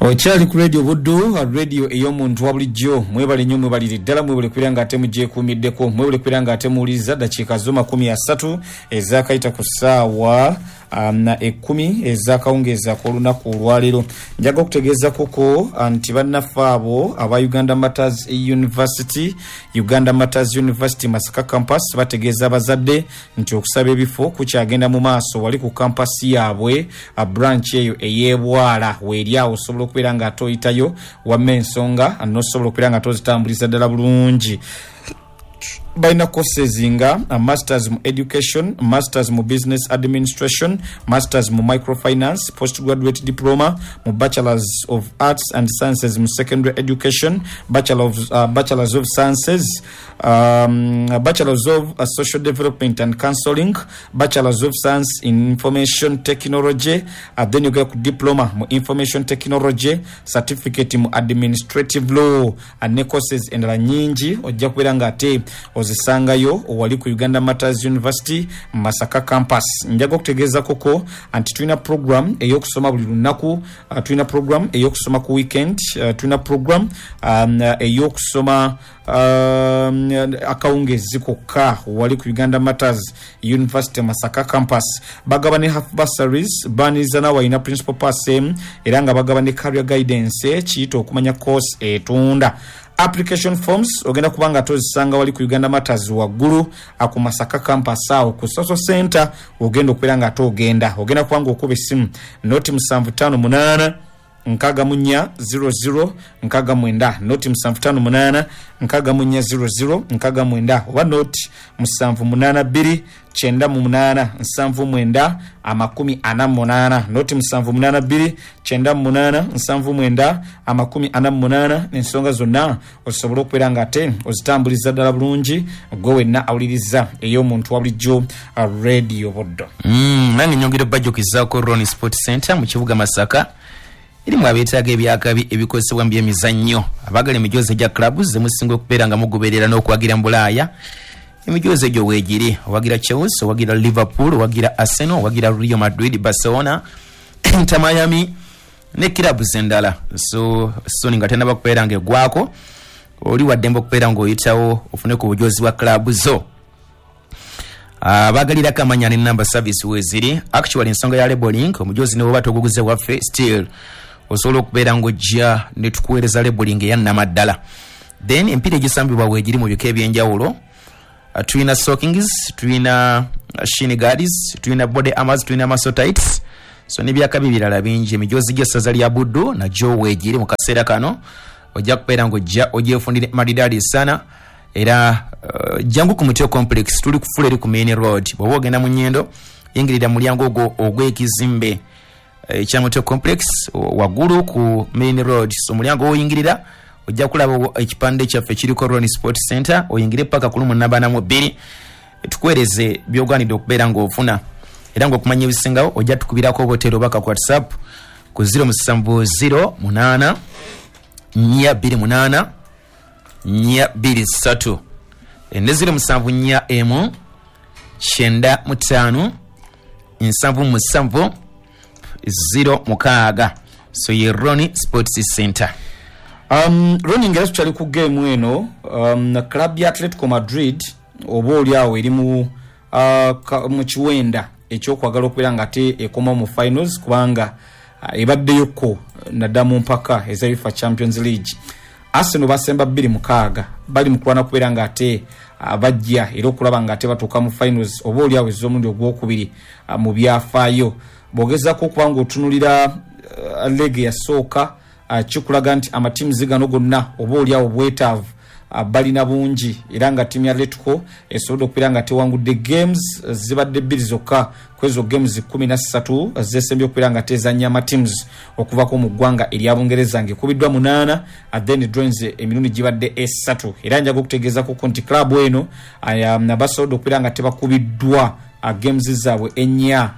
Okyali ku Radio Buddu, radio ey'omuntu wa bulijjo. Mwebale nnyo mwebalire ddala, mwebale kubeera nga ate mugyekuumiddeko, mwebale kubeera nga ate muwuliriza. Dakiika zo 30 ezakayita ku ssaawa 10 ez'akawungeezi ak'olunaku olwaleero. Njaga okutegeezakuko nti bannaffe abo aba Uganda Martyrs University, Uganda Martyrs University Masaka Campus bategeeza abazadde nti okusaba ebifo kukyagenda mu maaso wali ku campus yaabwe branch eyo ey'e Bwala weeri awo osobola okubeera nga ate oyitayo wamma ensonga n'osobola okubeera nga ate ozitambuliza ddala bulungi. Balina courses nga Masters mu Education, Masters mu Business Administration, Masters mu Microfinance, Postgraduate Diploma mu Bachelors of Arts and Sciences mu Secondary Education, Bachelor of, Bachelors of Sciences, Bachelors of Social Development and Counseling, Bachelors of Science in Information Technology, then yogera ku Diploma mu Information Technology, Certificate mu Administrative Law ne courses endala nyingi ojja kubeera nga ate ozisangayo wali ku Uganda Martyrs University Masaka Campus. Njaga okutegeezakoko nti tulina program ey'okusoma buli lunaku, tulina program ey'okusoma ku weekend, tulina program ey'okusoma akawungeezi kokka wali ku Uganda Martyrs University Masaka Campus. Bagaba ne half bursaries, baaniriza n'awalina principal pass emu era nga bagaba ne career guidance kiyite okumanya course etunda. Application forms ogenda kuba nga ate ozisanga wali ku Uganda Martyrs waggulu ku Masaka Campus awo ku Social Centre wogenda okubeera nga ate ogenda. Ogenda kuba nga okuba essimu noti musanvu tano munaana 64 00 69, noti musanvu tano munaana 64 00 69 oba noti musanvu munaana bbiri 98 79 48, noti musanvu munaana bbiri 98 79 48. Ensonga zonna osobole okubeera nga ate ozitambuliza ddala bulungi gwe wenna awuliriza ey'omuntu wa bulijjo Radio Buddo. Nange nyongera obajjukizaako Ron Sport Center mu kibuga Masaka erimu abeetaaga ebyakabi ebikozesebwa mu byemizannyo, abaagala emijoozi egya clubs zemusinga okubeera nga mugoberera n'okuwagira mu Bulaaya. Emijoozi egyo weegiri: owagira Chelsea, owagira Liverpool, owagira Arsenal, owagira Real Madrid, Barcelona, Inter Miami ne clubs endala. So soni nga tenaba kubeera nga eggwako, oli waddembe okubeera ng'oyitawo ofune ku bujoozi bwa club zo. Abagalirako amanya ne number service weeziri. Actually ensonga ya labeling, omujoozi ne bw'oba toguguze waffe, still osobola okubeera ng'ojja ne tukuweereza labeling eya nnamaddala. Then emipiira egisambibwa weegiri mu bika eby'enjawulo. Tulina stockings, tulina shin guards, tulina body armors, tulina muscle tights, so n'ebyakabi birala bingi. Emijoozi gy'essaza lya Buddu nagyo weegiri mu kaseera kano, ojja kubeera ng'ojja ogyefunire maridadi sana. Era jangu ku Mutyo Complex, tuli kufula eri ku main road. Bw'oba ogenda mu Nyendo, yingirira mulyango ogwo ogw'ekizimbe ekya Mutyo Complex waggulu ku main road. So omulyango woyingirira ojja kulaba ekipande kyaffe kiriko Ron Sport Center, oyingire paka ku lumu nabana mu bbiri, tukuweereze by'ogwanidde okubeera ng'ofuna. Era ng'okumanya ebisingawo ojja tukubirako obotero obaka ku WhatsApp ku 0708 428 423 ne 0741 95 77 06. So ye Ron Sports Center. Ronnie, nga era tukyali ku geemu eno, club ya Atletico Madrid oba oli awo eri mu kiwenda eky'okwagala okubeera nga ate ekomawo mu finals, kubanga ebaddeyoko naddala mu mpaka eza UEFA Champions League. Arsenal basemba 2-6, bali mu kulwana kubeera nga ate bajja era okulaba nga ate batuuka mu finals oba oli awo ez'omulundi ogwokubiri mu byafaayo. Bw'ogezaako okuba nga otunulira league eyasooka, kikulaga nti amatiimuzi gano gonna oba oli awo bwetaavu balina bungi, era nga ttiimu ya Atletico esobodde okubeera nga tewangudde games zibadde bbiri zokka ku ezo games 13 zesembye okubeera nga tezannya amatiimuzi okuvako mu ggwanga erya Bungereza, ng'ekubiddwa 8, then draws emirundi gibadde 3. Era njaga okutegeezakuko nti club eno basobodde okubeera nga tebakubiddwa games zaabwe ennya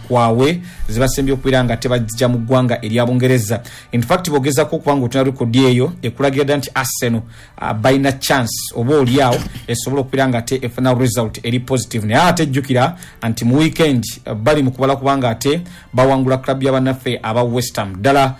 kwawe zibasembye okubeera nga tebajja mu ggwanga erya Bungereza. In fact bw'ogezaako okuba nga otuna rekodi eyo, ekulagira ddala nti Arsenal balina chance oba oli awo esobola okubeera nga ate efuna result eri positive. Naye ate jjukira nti mu weekend bali mu kubala kubanga ate bawangula club ya bannaffe aba West Ham. Ddala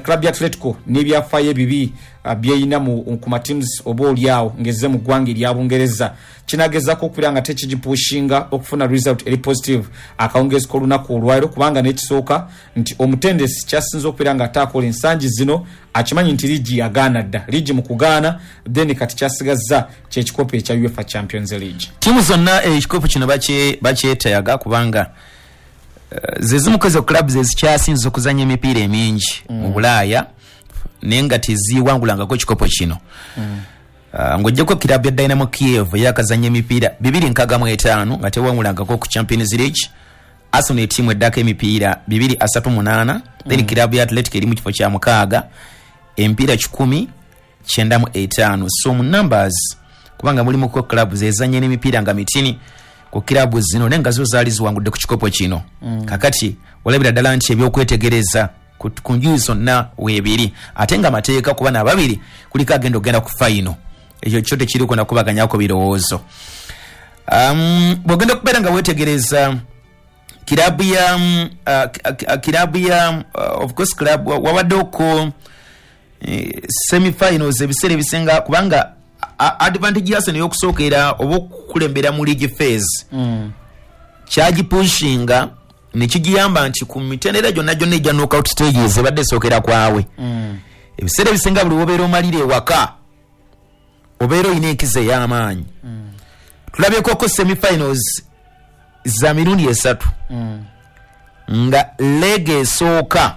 Club ya Atletico n'ebyafaayo ebibi byeyina ku mateams oba oliawo ngezze mu ggwanga erya Bungereza, kinagezako okubeera nga tekigipushinga okufuna result eri positive akawungezi k'olunaku olwaliro, kubanga n'ekisooka nti omutendesi kyasinze okubeera nga ate akola ensangi zino akimanyi nti liigi yagaana dda, liigi mu kugaana, then kati kyasigazza kyekikopo ekya UEFA Champions League. Tiimu zonna ekikopo kino bakyetaaga kubanga zezimu ku ezo clubs ezikyasinze okuzanya emipiira emingi mu Bulaaya, naye nga teziwangulangako ekikopo kino. Ng'oggyeko kirabu ya Dynamo Kiev eyakazanya emipiira 265 nga tewangulangako ku Champions League. Arsenal etiimu eddako emipiira 238, then kirabu ya Athletic eri mu kifo kya mukaaga, emipiira 195. So mu numbers, kubanga mulimuko clubs ezanya n'emipiira nga mitini ku kirabu zino, naye nga zo zaali ziwangudde ku kikopo kino. Kakati olabira ddala nti ebyokwetegereza ku njuyi zonna weebiri, ate nga amateeka kuba nababiri kuliko agenda okugenda ku final, ekyo kyo tekiriko nakubaganyako birowoozo. Bw'ogenda okubeera nga weetegereza kirabu ya of course club wabaddeko semifinals ebiseera ebisinga, kubanga advantage ya Arsenal ey'okusookera oba okukulembera mu league phase kyagipushinga nekigiyamba nti ku mitendera gyonna gyonna egya knockout stages ebadde esookera kwawe. Ebiseera ebisinga buli wobeera omalira ewaka obeera olina enkizo ey'amaanyi. Tulabyekoko semifinals za mirundi esatu nga leg esooka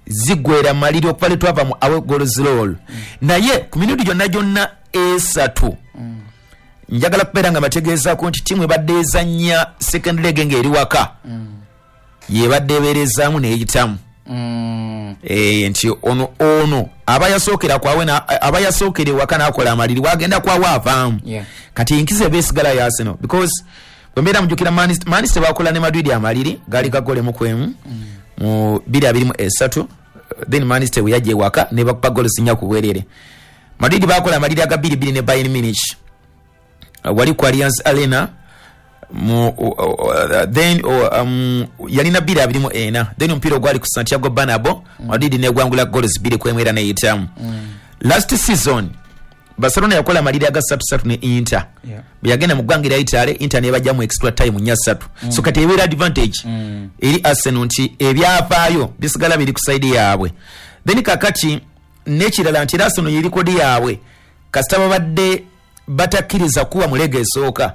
ziggwera maliri okuva letwava mu away goals rule, naye ku mirundi gyonna gyonna esatu njagala kubeera nga bategeezaako nti ttiimu ebadde ezannya second leg ng'eri waka yebadde ebeerezaamu neyitamu. Nti ono aba yasookera kwawe, aba yasookera ewaka n'akola amaliri, wagenda kwawe avaamu. Kati enkizo eba esigala ya Arsenal, because bwe mbeera mujjukira Man City bakola ne Madrid amaliri gaali kagolemu kwemu mu 2023, then Man City bwe yajja ewaka ne bakuba goals 4 ku bwerere. Madrid bakola amaliri aga 2-2 ne Bayern Munich wali ku Allianz Arena mu then yalina 2-24, then omupiira ogwali ku Santiago Bernabeu Madrid negwangula goals 2-1 era neyitamu. Last season Barcelona yakola amaliri aga 3-3 ne Inter, bwe yagenda mu ggwanga erya Italy, Inter nebajja mu extra time 4-3. So kati ebeera advantage eri Arsenal nti ebyafaayo bisigala biri ku side yaabwe. Then kakati n'ekirala nti era Arsenal ye record yaabwe kasita babadde batakkiriza kuba mu leg esooka.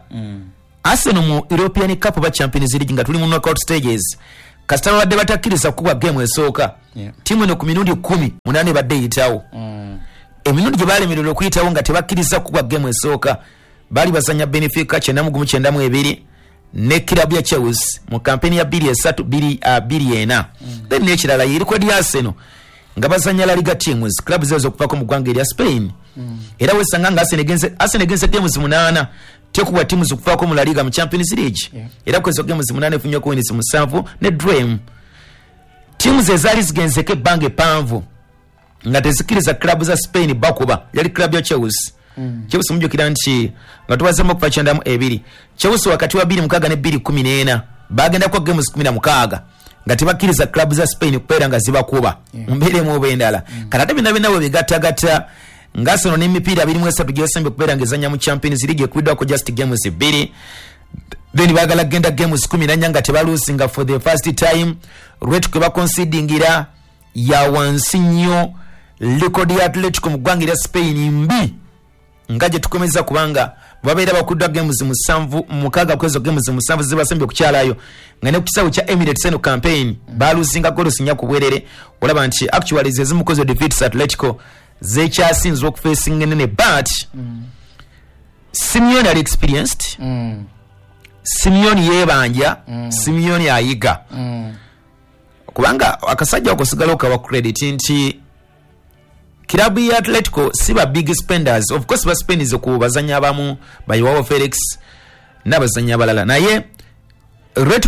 Arsenal mu European Cup oba Champions League nga tuli mu knockout stages, kasita babadde batakkiriza kuba game esooka, ttiimu eno ku mirundi 18 ebadde eyitawo. Emirundi gye balemererwa okuyitawo nga tebakkiriza kuba game esooka, baali bazanya Benfica 91-92 ne kirabu ya Chelsea mu kampeni ya 2-3 2-4. Then n'ekirala ye record ya Arsenal nga bazanya La Liga teams, clubs ezo okuvako mu ggwanga erya Spain. Era wesanga nga Arsenal egenze games 8 tekubwa teams okuvaako mu La Liga mu Champions League. Era kwezo games 8 efunye wins 7 ne draw. Teams ezaali zigenzeko ebbanga eppanvu nga tezikkiriza club za Spain bakuba yali club ya Chelsea. Chelsea mujjukira nti nga tubazeemu okuva 92, Chelsea wakati wa 2006 ne 2014 bagendako games 16 nga tebakkiriza club za Spain kubeera nga zibakuba mu mbeera emu oba endala. Kati ate byonna byonna bwe bigattagatta nga Arsenal n'emipiira 23 gyesembye okubeera ng'ezannya mu Champions League ekubiddwako just games 2, then baagala kugenda games 14 nga tebalusinga for the first time. Rate kwe bakonsidingira ya wansi nnyo. Record ya Atletico mu ggwanga erya Spain mbi nga gye tukomeza, kubanga babeera bakuddwa games 7 6 kwezo games 7 zibasembye okukyalayo, nga ne ku kisaawe kya Emirates eno campaign balusinga goals 4 ku bwerere. Olaba nti actually ze zimu ku ezo defeats Atletico zekyasinze okufacinga enene, but Simeone ali experienced, Simeone yeebanja, Simeone ayiga, kubanga akasajja ako sigala okawa credit nti kirabu ya Atletico si ba big spenders. Of course baspendinze ku bazanyi abamu ba Joao Felix n'abazanyi abalala, naye rate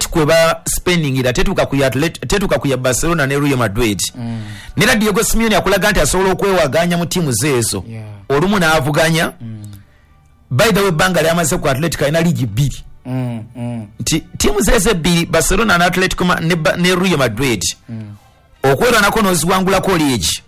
kwe ba spendingira tetuuka ku ya tetuuka ku ya Barcelona ne Real Madrid. Nera Diego Simeone akulaga nti asobola okwewaganya mu ttiimu zeezo olumu n'avuganya. By the way, ebbanga lyamaze ku Atletico alina liigi 2, nti ttiimu zeezo ebbiri Barcelona ne Atletico ne Real Madrid. Okwerwanako n'oziwangulako liigi,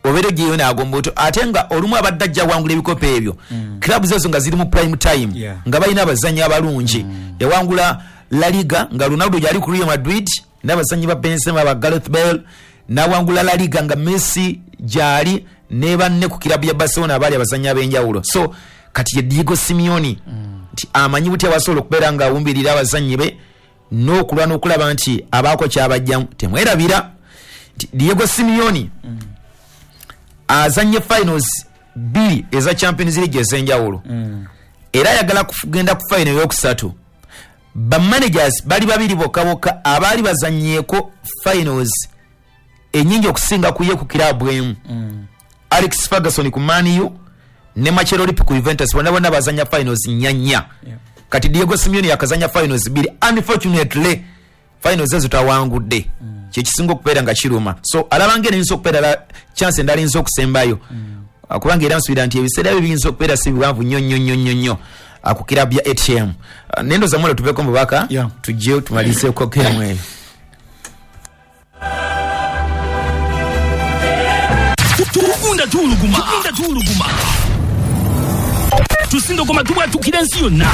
obeera ogiyeyo n'agomba otyo, ate nga olumu abadde ajja awangula ebikopo ebyo, clubs ezo nga ziri mu prime time, nga balina abazannyi abalungi. Yawangula La Liga nga Ronaldo gyali ku Real Madrid n'abazannyi ba Benzema, ba Gareth Bale. N'awangula La Liga nga Messi gyali ne banne ku kirabu ya Barcelona abaali abazannyi ab'enjawulo. So kati ye Diego Simeone, nti amanyi butya basobola okubeera nga awumbirira abazannyi be n'okulwana okulaba nti abaako kyabajjamu. Temwerabira nti Diego Simeone azanye finals bbiri eza Champions League ez'enjawulo, era ayagala kugenda ku final eyokusatu. Bamanagers bali babiri bokka bokka abaali bazanyeeko finals enyingi okusinga ku ye ku kirabu emu, Alex Ferguson ku Man U ne Marcelo Lippi ku Juventus. Bonna bonna bazanya finals nnya nnya. Kati Diego Simeone yakazanya finals bbiri. Unfortunately, finals ezo tawangudde, kyekisinga okubeera nga kiruma. So alaba nga eno eyinza okubeera chance endala eyinza okusembayo, kubanga era nsuubira nti ebiseera byo biyinza okubeera si biwanvu nnyo nnyo nnyo nnyo nnyo ku kirabu ya ATM. Nendoza mwala tuveeko mu bubaka, tujje tumalizeeko gemu eyo. Tugunda tuwuluguma, tugunda tuwuluguma, tusindogoma, tubwatukira ensi yonna.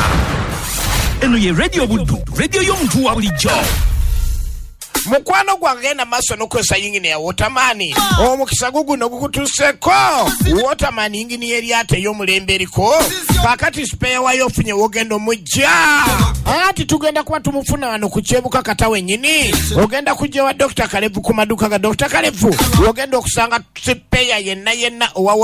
Eno ye Radio Buddu, radio y'omuntu wa bulijjo. Mukwano gwange, genda maaso n'okukozesa yingini ya Waterman. Omukisa guguno gukutuuseko. Waterman yingini y'eryato ey'omulembe eriko kaakati spare wayo ofunye wogenda omujja. Anti tugenda kuba tumufuna wano ku Kyebuka kata wennyini. Ogenda kujja wa Dr Kalevu, ku maduka ga Dr Kalevu wogenda okusanga spare yenna yenna owa